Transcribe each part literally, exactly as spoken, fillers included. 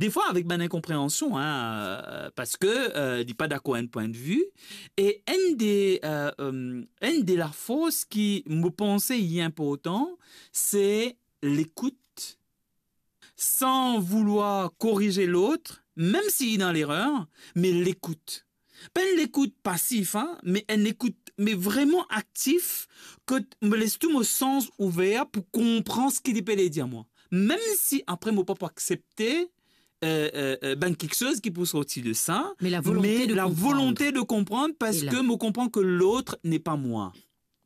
Defwa avek bann inkonpreansion, hein, euh, parski, euh, li pa dakor enn pwin de vi. E enn de, euh, euh, enn de lafors ki mo panse li inportan, se lekout, san voulwar korize lot, mem si li dan lerer, me lekout. Pa enn lekout pasif, hein, me enn lekout, me vreman aktif, kot mo les tou mo sans ouver pou konpran seki li pe le dir mwa. Mem si apre mo pa pou aksepte, euh, euh, euh, bann kiksoz ki pou sorti de sa, Me la volonte me de la konpran. volonte de konprann, E la. parski mo konpran ke lot n'est pas moi.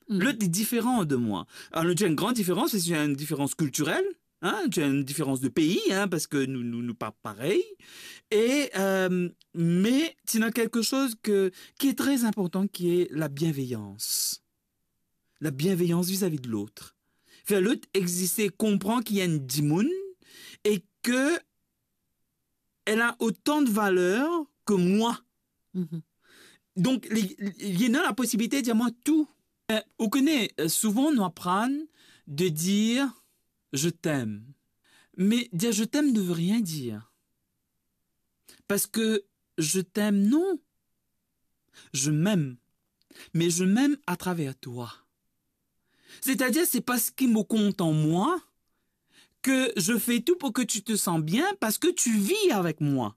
Mm. Lot est différent de moi. Alors, il y a une grande différence, c'est une différence culturelle, hein, il y a une différence de pays, hein, parski nou, nou, nou pa parey. E, euh, me ti ena kiksoz ke, ki est très important, ki est la bienveillance. La bienveillance vis-à-vis de l'autre. Fer lot existe, konpran ki enn dimoun e ke elle a autant de valeur que moi. Mhm. Donk, li, li, li ena la posibilite dir mwa tou. Euh, ou kone, euh, souvan nou aprann de dir « je t'aime ». Me dir « je t'aime » ne veut rien dire. Parski « je t'aime », non. Je m'aime. Mais je m'aime à travers toi. C'est-à-dire, c'est parce que mo kontan mwa que je fais tout pour que tu te sens bien, parce que tu vis avec moi.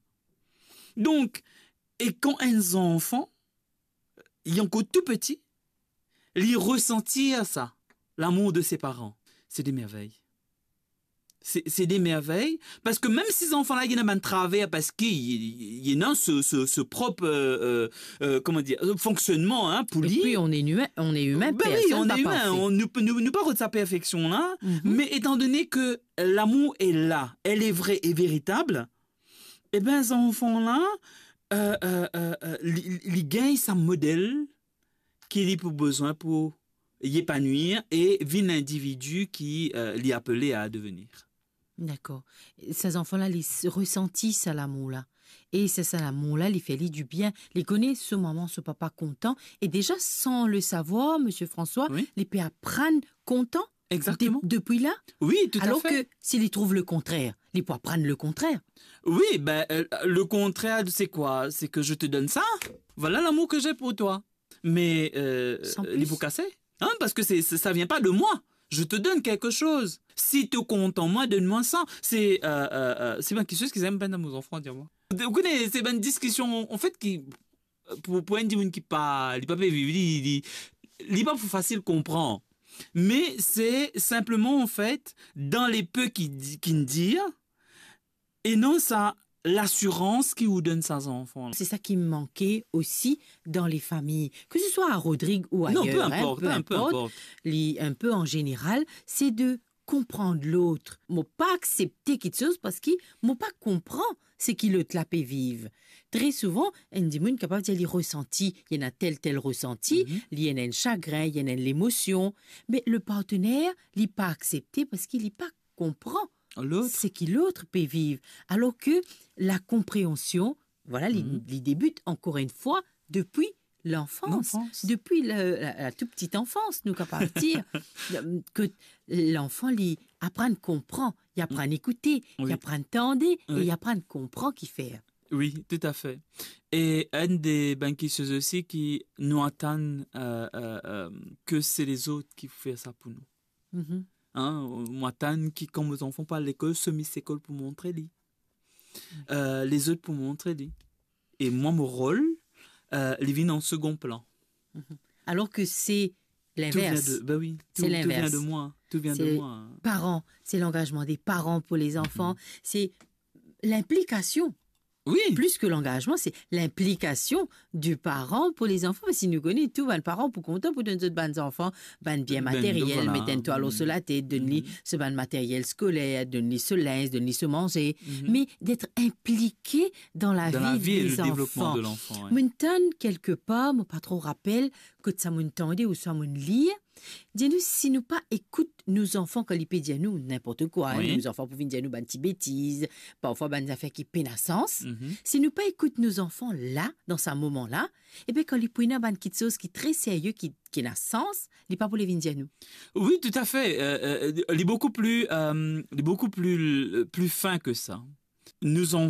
Donk, e kan enn zanfan, li ankor tou piti, li resantir sa, l'amour de ses parents, c'est des merveilles. C'est, c'est des merveilles, parski mem si zanfan la, li ena bann traver, parski li, li, li ena so, so, so prop, euh, euh, euh, comment dire, euh, fonctionnement, hein, pou li. Et puis, on est humain, on est humain, Ben oui, personne on va est humain, parfait. on, nou, nou, nou pa rod sa perfeksion la, Mhm. mais étant donné que l'amour est là, elle est vraie et véritable, e ben, zanfan la, euh, euh, euh, euh, li, li, li gagn sa model ki li pou bizin pou li epanouir e vinn lindividi ki, euh, li apele a devenir. Dakor. Sa zanfan la, li s-, resanti sa lamour la. E sa, sa lamour la, li fer li dibien. Li kone so mama, so papa kontan. E deza, san le savwar, Misie François, Wi. li pe aprann kontan Exactement. de-, depi la. Wi, tout à fait. Alor ke si li trouv le kontrer, li pou aprann le kontrer. Wi, ben, euh, le contraire, c'est quoi ? C'est que je te donne ça. Voilà l'amour que j'ai pour toi. Mais, euh, Sans li plus. pou kase. Hein, parce que c'est, c'est, ça vient pas de moi. Je te donne quelque chose. Si tu es content, moi, donne-moi ça. C'est, euh, euh, euh, c'est bien quelque chose qu'ils aiment bien dans nos enfants, dis-moi. Ou kone, se bann diskision, an fet, ki, pou, pou enn dimoun ki pa, li pa pe viv, li, li, li pa pou fasil konpran. Me se sinpleman, an fet, dan le pe ki di, ki dir, e non sa lasirans ki ou donn sa zanfan. Se sa ki manke osi dan le fami, ke se swa a Rodrig ou Non, ayer, pe hein, inport, pe hein, pe inport, inport. li, un peu en général, c'est de konpran lot. Mo pa aksepte kiksoz parski mo pa konpran seki lot la pe viv. Tre souvan, enn dimoun kapav dir li resanti, li ena tel, tel resanti, Mhm. li ena enn sagrin, li ena enn lemosion, me le partener, li pa aksepte parski li pa konpran Lot. seki lot pe viv. Alor ke la konpreansion, voilà, li, Mhm. li debit ankor enn fwa depi lanfans, Lanfans. depi la, la, la tou petite enfance, nou kapav dir, ke lanfan, li aprann konpran, li aprann ekoute, Wi. li aprann tande, e Wi. li aprann konpran ki fer. Wi, tout à fait. E enn de bann kiksoz osi ki nou atann, euh, euh, euh, ke se lezot ki pou fer sa pou nou. Mhm. Hein, mo atann ki kan mo zanfan pou al lekol, so mi sekol pou montre li. Euh, lezot pou montre li. E mwa, mo rol, euh, li vinn an segon plan. Mhm. Alor ke se Tout vient linvers. de, ben oui, Se tout, tout vient linvers. de moi. Tout vient de Se moi. paran, se langazman de paran pou lezanfan, Mhm. se linplikasion. Wi. Plis ke langazman, se linplikasion di paran pou lezanfan. Si nou kone tou bann paran pou kontan pou donn zot bann zanfan bann bien Bann, materyel, voilà. met enn twal lor so latet, donn li Mhm. so bann materyel skoler, donn li so linz, donn li so manze. Mhm. Me d'être impliqué dans la Dan la vie vi e des le devlopman enfants. de lanfan, wi. Mo'nn tann kelke par, mo pa tro rapel kot sa mo'nn tande ouswa mo'nn lir, dir nou, si nou pa ekout nou zanfan kan li pe dir nou ninport kwa, Wi. nou zanfan pou vinn dir nou bann ti betiz, parfwa bann zafer ki pena sans, Mhm. si nou pa ekout nou zanfan la, dan sa moman la, ebe, kan li pou ena bann kiksoz ki tre serye, ki, ki ena sans, li pa pou le vinn dir nou. Wi, tout à fait. Euh, euh, li boukou pli, euh, li boukou pli, pli fin ke sa. nous ont